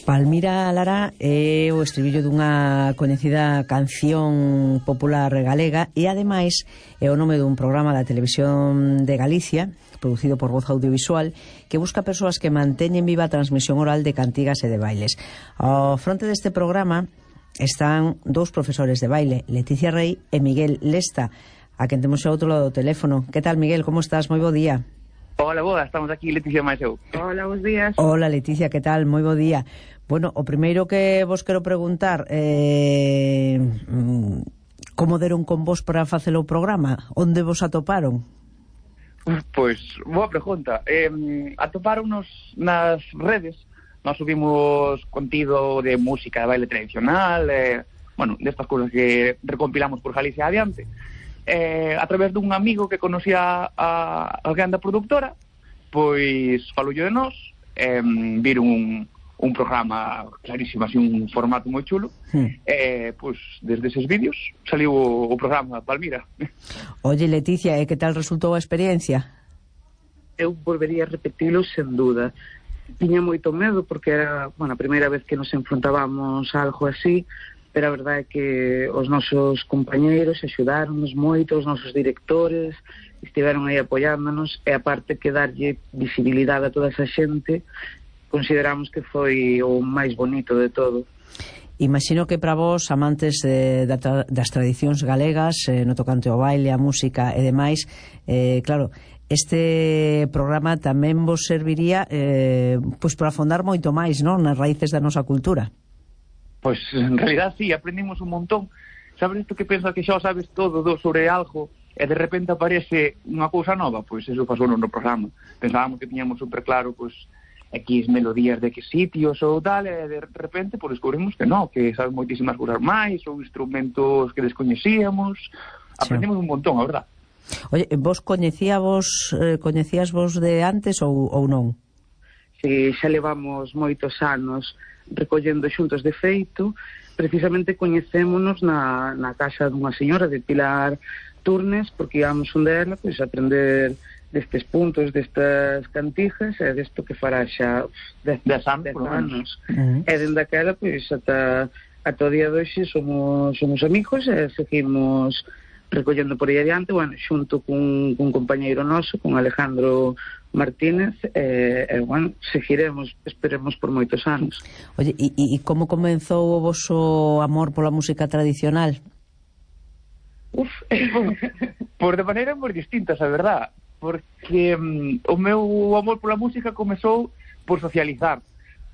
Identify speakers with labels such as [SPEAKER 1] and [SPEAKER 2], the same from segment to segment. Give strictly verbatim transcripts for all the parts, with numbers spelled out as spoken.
[SPEAKER 1] Palmira Lara é o estribillo dunha coñecida canción popular galega e ademais é o nome dun programa da Televisión de Galicia producido por Voz Audiovisual que busca persoas que manteñen viva a transmisión oral de cantigas e de bailes. Ao fronte deste programa están dous profesores de baile, Leticia Rey e Miguel Lesta, a quen temos ao outro lado do teléfono. Que tal, Miguel? Como estás? Moi bo día.
[SPEAKER 2] Hola, boa, estamos aquí, Leticia máis eu.
[SPEAKER 3] Hola, bons días.
[SPEAKER 1] Hola, Leticia, que tal? Moi bo día. Bueno, o primeiro que vos quero preguntar eh, como deron con vos para facer o programa? Onde vos atoparon?
[SPEAKER 2] Pois, boa pregunta. Eh, atoparonnos nas redes. Nós subimos contido de música de baile tradicional, eh, bueno, destas cousas que recompilamos por Galicia adiante. Eh, a través dun amigo que conocía a alguén da productora, pois faloulle de nós, eh, viron un un programa clarísimo, así un formato moi chulo, hmm. eh, pois desde eses vídeos saliu o, o programa Palmira.
[SPEAKER 1] Oye, Leticia, e que tal resultou a experiencia?
[SPEAKER 3] Eu volvería a repetilo sen duda. Tiña moito medo porque era, bueno, a primeira vez que nos enfrontábamos a algo así, pero a verdade é que os nosos compañeiros axudáronnos moito, os nosos directores estiveron aí apoiándonos, e aparte que darlle visibilidade a toda esa xente consideramos que foi o máis bonito de todo.
[SPEAKER 1] Imagino que para vos, amantes de, das tradicións galegas, eh, no tocante ao baile, a música e demais, eh, claro, este programa tamén vos serviría eh, pois para afondar moito máis, non, nas raíces da nosa cultura.
[SPEAKER 2] Pois, en realidad, sí, aprendimos un montón. Sabes isto que pensas que xa sabes todo do sobre algo e de repente aparece unha cousa nova? Pois eso pasou no programa. Pensábamos que tiñamos super claro, pois, X melodías de X sitios ou tal, e de repente pois descubrimos que non, que sabes moitísimas cousas máis, ou instrumentos que descoñecíamos. Aprendimos sí. un montón, a verdad.
[SPEAKER 1] Oye, vos coñecíavos, eh, coñecías vos de antes ou, ou non?
[SPEAKER 3] Si, xa levamos moitos anos recollendo xuntos. De feito, precisamente coñecémonos na, na casa dunha señora de Pilar Turnes, porque íamos un dela pois, a aprender destes puntos, destas cantijas, e desto que fará xa dez anos. Uh-huh. E dende aquela, pois, ata, ata o día de hoxe somos, somos amigos e seguimos recollendo por aí adiante, bueno, xunto cun, cun compañeiro noso, con Alejandro Martínez, e, e bueno, seguiremos, esperemos por moitos anos.
[SPEAKER 1] Oye, e, e como comenzou o voso amor pola música tradicional?
[SPEAKER 2] Uf, por de maneira moi distintas, a verdad, porque um, o meu amor pola música comezou por socializar.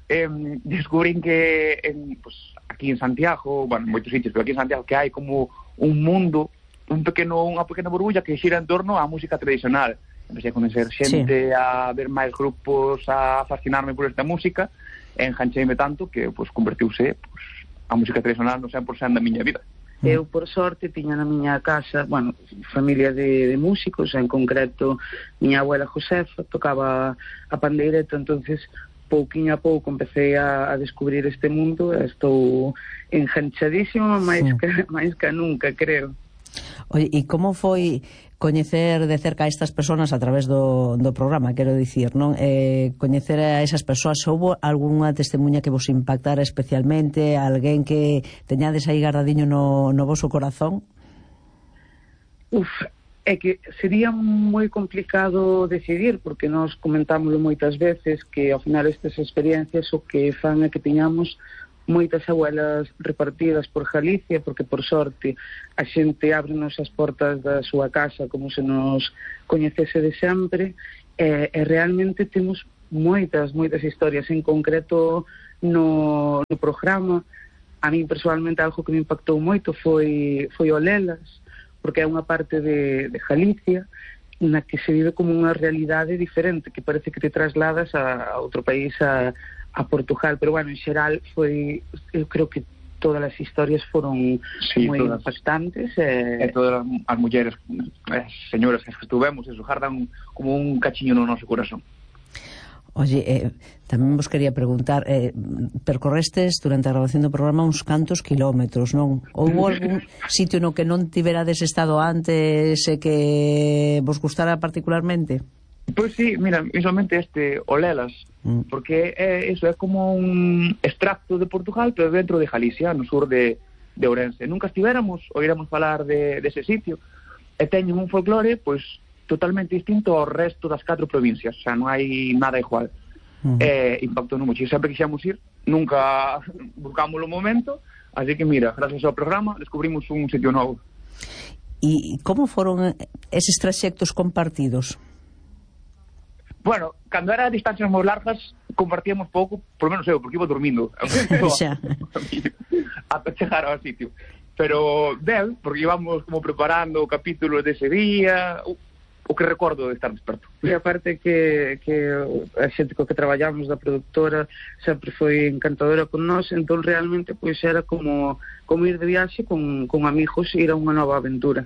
[SPEAKER 2] Eh, descubrín que en, pues, aquí en Santiago, bueno, en moitos sitios, pero aquí en Santiago que hai como un mundo, un pequeno, unha pequena burbulla que xira en torno á música tradicional. Empecé a conocer xente, sí. a ver máis grupos, a fascinarme por esta música, e engancheime tanto que pues, convertiuse pues, a música tradicional no cen por cento da miña vida.
[SPEAKER 3] Eu, por sorte, tiña na miña casa, bueno, familia de, de músicos, en concreto, miña abuela Josefa tocaba a pandeireta, entonces pouquinho a pouco empecé a, a descubrir este mundo, e estou enganchadísima máis, sí. que, máis que nunca, creo.
[SPEAKER 1] Oye, e como foi coñecer de cerca a estas persoas a través do, do programa, quero dicir, non? Eh, coñecer a esas persoas, houbo algunha testemunha que vos impactara especialmente, alguén que teñades aí guardadiño no, no voso corazón?
[SPEAKER 3] Uf, é que sería moi complicado decidir, porque nós comentámoslo moitas veces, que ao final estas experiencias o que fan é que tiñamos moitas abuelas repartidas por Galicia, porque por sorte a xente ábrenos as portas da súa casa como se nos coñecese de sempre, e, e realmente temos moitas, moitas historias. En concreto no, no programa, a mí personalmente algo que me impactou moito foi, foi o Lelas, porque é unha parte de, de Galicia na que se vive como unha realidade diferente, que parece que te trasladas a, a outro país, a a Portugal, pero bueno, en xeral foi, eu creo que todas as historias foron sí, moi todas, impactantes e...
[SPEAKER 2] e todas as mulleres, as señoras que estuvemos, eso, jardan como un cachiño no noso corazón.
[SPEAKER 1] Oye, eh, tamén vos quería preguntar, eh, percorrestes durante a grabación do programa uns cantos kilómetros, non? Houve algún sitio no que non tiverades estado antes e que vos gustara particularmente?
[SPEAKER 2] Pois sí, mira, visualmente este Olelas, mm. porque é, eso é como un extracto de Portugal, pero dentro de Galicia, no sur de, de Ourense. Nunca estivéramos, oiremos falar de, de ese sitio, e teñen un folclore, pois, totalmente distinto ao resto das catro provincias, o sea, non hai nada igual. Mm. E impactou no mucho, e sempre quixemos ir, nunca buscamos o momento, así que mira, gracias ao programa, descubrimos un sitio novo.
[SPEAKER 1] E como foron eses traxectos compartidos?
[SPEAKER 2] Bueno, cando era a distancias moi largas compartíamos pouco, por menos eu, porque iba dormindo ata chegar ao sitio, pero ben, porque íbamos como preparando o capítulo dese día, o, o que recordo de estar desperto.
[SPEAKER 3] E aparte que, que a xente co que traballamos da productora sempre foi encantadora con nós, entón realmente pois era como, como ir de viaxe con, con amigos e ir a unha nova aventura.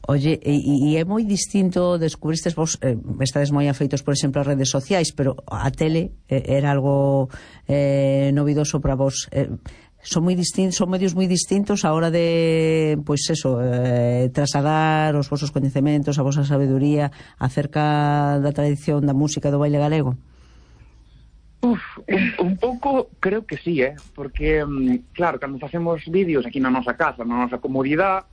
[SPEAKER 1] Oye, e, e é moi distinto, descubristes vos, eh, estades moi afeitos, por exemplo, ás redes sociais, pero a tele eh, era algo eh, novidoso para vos. Eh, son moi distintos, son medios moi distintos a hora de, pois eso, eh, trasladar os vosos coñecementos, a vosa sabeduría acerca da tradición da música do baile galego.
[SPEAKER 2] Uf, un, un pouco creo que sí, eh, porque claro, cando facemos vídeos aquí na nosa casa, na nosa comodidade,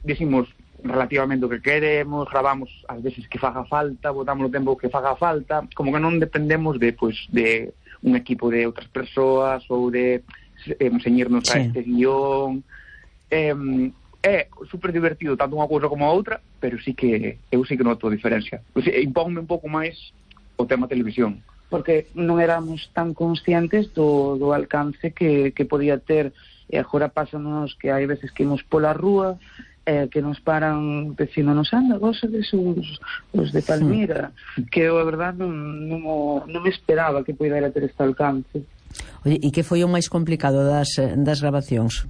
[SPEAKER 2] decimos relativamente o que queremos, gravamos as veces que faga falta, botamos o tempo que faga falta, como que non dependemos de, pues, de un equipo de outras persoas ou de eh, enseñarnos sí. a este guión. Eh, é super divertido tanto unha cousa como a outra, pero sí que eu sí que noto a diferencia. O sea, impónme un pouco máis o tema televisión.
[SPEAKER 3] Porque non éramos tan conscientes do, do alcance que, que podía ter, e agora pásanos que hai veces que imos pola rúa, eh, que nos paran dicindo, nos anda, vos sodes os, os de Palmira, mm. que eu, a verdade, non, non, non me esperaba que pudera ter este alcance.
[SPEAKER 1] Oye, e que foi o máis complicado das, das grabacións?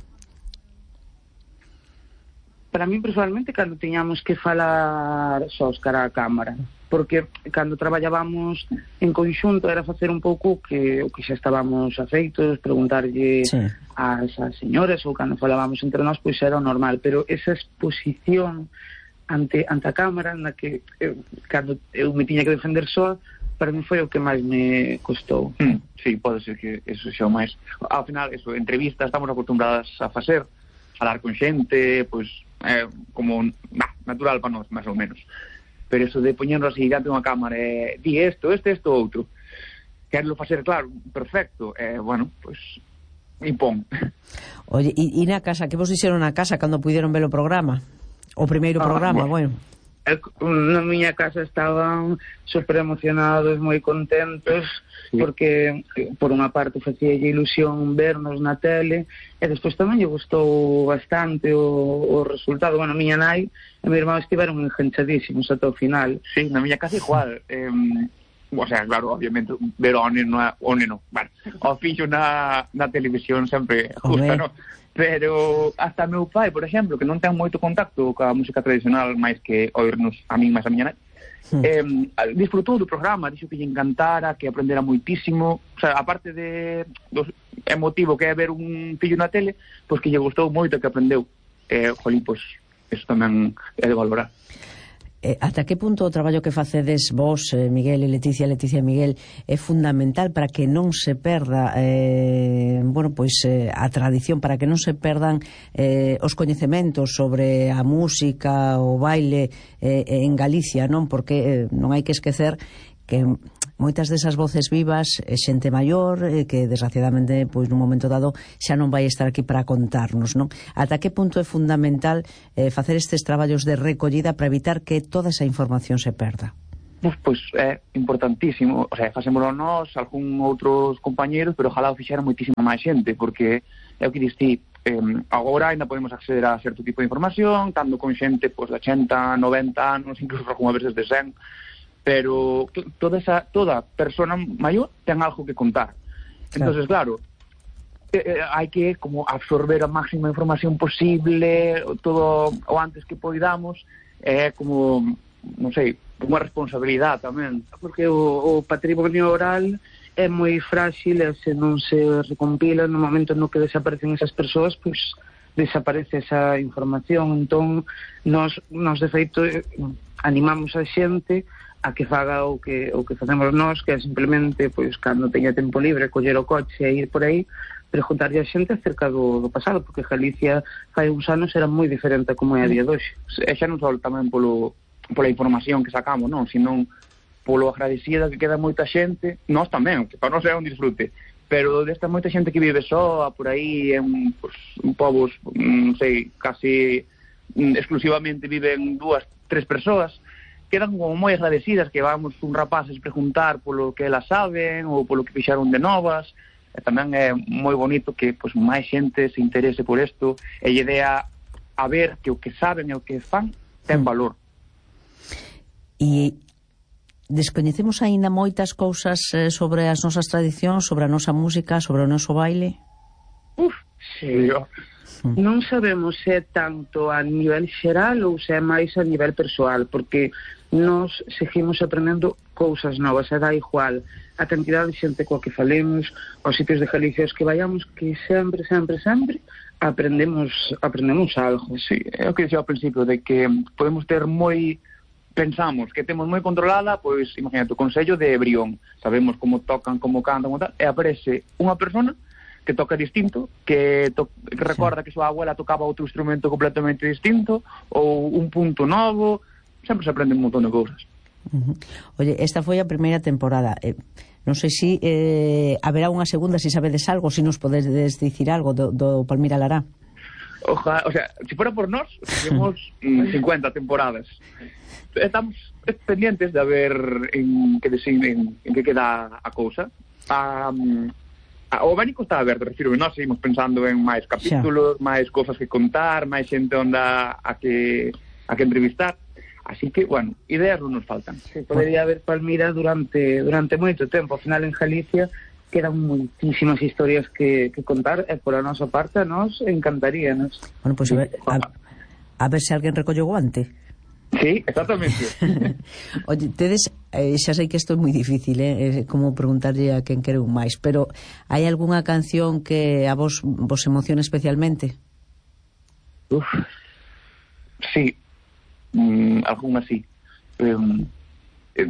[SPEAKER 3] Para mí, personalmente, cando tiñamos que falar sós cara a cámara, porque cando traballábamos en conxunto era facer un pouco que o que xa estábamos afeitos, preguntarlle sí. ás, ás señoras, ou cando falábamos entre nós, pois era o normal, pero esa exposición ante, ante a cámara, na que eu, cando eu me tiña que defender só, para mí foi o que máis me costou.
[SPEAKER 2] Mm, sí, pode ser que eso xa o máis. Ao final, eso, entrevistas estamos acostumbradas a facer, falar con xente, pois, eh, como nah, natural para nós, máis ou menos. Pero eso de poñernos así diante unha cámara e eh, di isto, este, isto, outro, querlo facer claro, perfecto, e, eh, bueno, pois, impón.
[SPEAKER 1] Oye, e, e na casa, que vos dixeron na casa cando puderon ver o programa? O primeiro ah, programa, bueno. bueno.
[SPEAKER 3] Na miña casa estaban super emocionados, moi contentos, sí. porque por unha parte facía ilusión vernos na tele, e despois tamén lle gustou bastante o, o resultado. Bueno, a miña nai e a mi irmán estiveron enganchadísimos ata o final.
[SPEAKER 2] Sí, na miña casa igual. eh, o sea, claro, obviamente ver o neno, o neno, bueno, o fillo na, na televisión sempre gusta, non? Pero hasta meu pai, por exemplo, que non ten moito contacto coa música tradicional máis que oírnos a min máis a miña nai, hmm. eh, disfrutou do programa, dixo que lle encantara, que aprendera moitísimo, o sea, aparte de do emotivo que é ver un fillo na tele, pois que lle gustou moito, que aprendeu. Eh, jolín, pois, eso tamén é de valorar.
[SPEAKER 1] Eh, ata que punto o traballo que facedes vos, eh, Miguel e Leticia, Leticia e Miguel, é fundamental para que non se perda eh, bueno, pois eh, a tradición, para que non se perdan eh, os coñecementos sobre a música, o baile eh, en Galicia, non? Porque eh, non hai que esquecer que moitas desas voces vivas é xente maior eh, que desgraciadamente pois nun momento dado xa non vai estar aquí para contarnos, non? Ata que punto é fundamental eh, facer estes traballos de recollida para evitar que toda esa información se perda?
[SPEAKER 2] Pois, pois é importantísimo, o sea, facémolo nós, algún outros compañeros, pero ojalá o fixera moitísima máis xente, porque é o que diste, eh, agora ainda podemos acceder a certo tipo de información, tanto con xente pois, de ochenta, noventa anos, incluso algunha veces de cen, pero toda esa toda persona maior ten algo que contar. Entonces, claro, eh, hai que como absorber a máxima información posible, todo o antes que poidamos, é eh, como, non sei, unha responsabilidade tamén,
[SPEAKER 3] porque o, o patrimonio oral é moi frágil e se non se recompila no momento no que desaparecen esas persoas, pois desaparece esa información. Entón, nos, nos de feito animamos a xente a que faga o que o que facemos nós, que é simplemente, pois, cando teña tempo libre, coller o coche e ir por aí, preguntarlle a xente acerca do, do pasado, porque Galicia fai uns anos era moi diferente a como é a día de hoxe.
[SPEAKER 2] E xa non só tamén polo, pola información que sacamos, non, sino polo agradecida que queda moita xente, nós tamén, que para nós é un disfrute, pero desta moita xente que vive soa por aí, en pues, un povos, non sei, casi exclusivamente viven dúas, tres persoas, quedan como moi agradecidas que vamos un rapaces preguntar polo que elas saben ou polo que fixaron de novas. E tamén é moi bonito que pues, máis xente se interese por isto e lle dea a ver que o que saben e o que fan ten valor.
[SPEAKER 1] E descoñecemos aínda moitas cousas sobre as nosas tradicións, sobre a nosa música, sobre o noso baile?
[SPEAKER 3] Uf, sí. Non sabemos se é tanto a nivel xeral ou se é máis a nivel persoal, porque nós seguimos aprendendo cousas novas, e dá igual a cantidade de xente coa que falemos, aos sitios de Galicia os que vayamos, que sempre, sempre, sempre aprendemos aprendemos algo.
[SPEAKER 2] Sí, é o que dixía ao principio, de que podemos ter moi, pensamos que temos moi controlada, pois, imagínate, o Consello de Brión, sabemos como tocan, como cantan, como tal, e aparece unha persona que toca distinto, que, to que recorda sí. que súa abuela tocaba outro instrumento completamente distinto, ou un punto novo, sempre se aprende un montón de cousas.
[SPEAKER 1] Uh -huh. Oye, esta foi a primeira temporada. Eh, non sei se eh, haberá unha segunda, se si sabedes algo, se si nos podedes dicir algo do, do Palmira Lará.
[SPEAKER 2] Oja, o sea, se si fuera por nós, temos cincuenta temporadas. Estamos pendientes de ver en que, en, en que queda a cousa. Um, O abanico está aberto, refiro, nós seguimos pensando en máis capítulos, xa. máis cosas que contar, máis xente onda a que a que entrevistar. Así que, bueno, ideas non nos faltan.
[SPEAKER 3] Sí, podería haber Palmira durante durante moito tempo. Ao final en Galicia quedan moitísimas historias que, que contar e por a nosa parte a nos encantaríanos.
[SPEAKER 1] Bueno, pois pues, a, a, a ver se alguén recolle o guante.
[SPEAKER 2] Sí, exactamente.
[SPEAKER 1] Oye, tedes, eh, xa sei que isto é moi difícil, eh, é como preguntarlle a quen quere un máis, pero hai algunha canción que a vos vos emociona especialmente?
[SPEAKER 2] Uf, sí, mm, algunha sí. Um,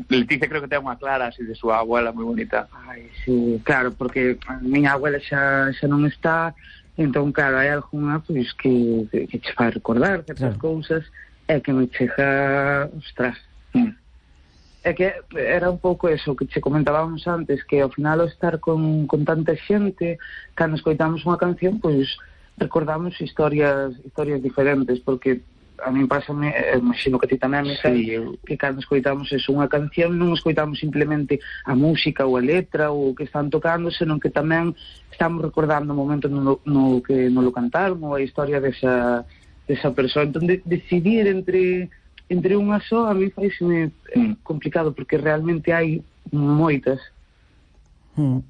[SPEAKER 2] Leticia creo que ten unha clara así de súa abuela moi bonita.
[SPEAKER 3] Ai, sí, claro, porque a miña abuela xa, xa non está, entón, claro, hai algunha pois, que, que, que che fai recordar certas claro. cousas, é que me chega, ostras, mm. é que era un pouco eso que che comentábamos antes, que ao final ao estar con, con tanta xente, cando escoitamos unha canción, pois recordamos historias historias diferentes, porque a mí pásame, imagino que a ti tamén me sí, eu... que cando escoitamos eso, unha canción non escoitamos simplemente a música ou a letra ou o que están tocando, senón que tamén estamos recordando o momento no, no que non lo cantaron ou a historia desa desa persoa. Entón, de, decidir entre entre unha só, a mí faiseme mm. complicado, porque realmente hai moitas.
[SPEAKER 1] Mm.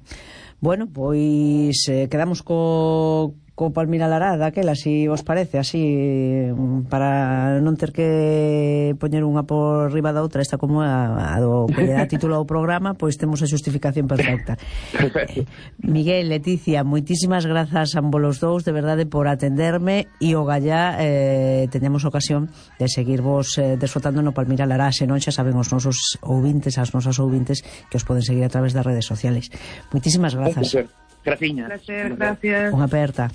[SPEAKER 1] Bueno, pois eh, quedamos co, co Palmira Lará daquela, si vos parece, así, para non ter que poñer unha por riba da outra, esta como a, a do que lle dá título ao programa, pois temos a xustificación perfecta. eh, Miguel, Leticia, moitísimas grazas a ambos os dous, de verdade, por atenderme, e o gallá eh, teñamos ocasión de seguirvos eh, desfrutando no Palmira Lará, se non xa saben os nosos ouvintes, as nosas ouvintes, que os poden seguir a través das redes sociales. Moitísimas grazas.
[SPEAKER 2] Graciñas.
[SPEAKER 3] Gracias, gracias.
[SPEAKER 1] Unha aperta.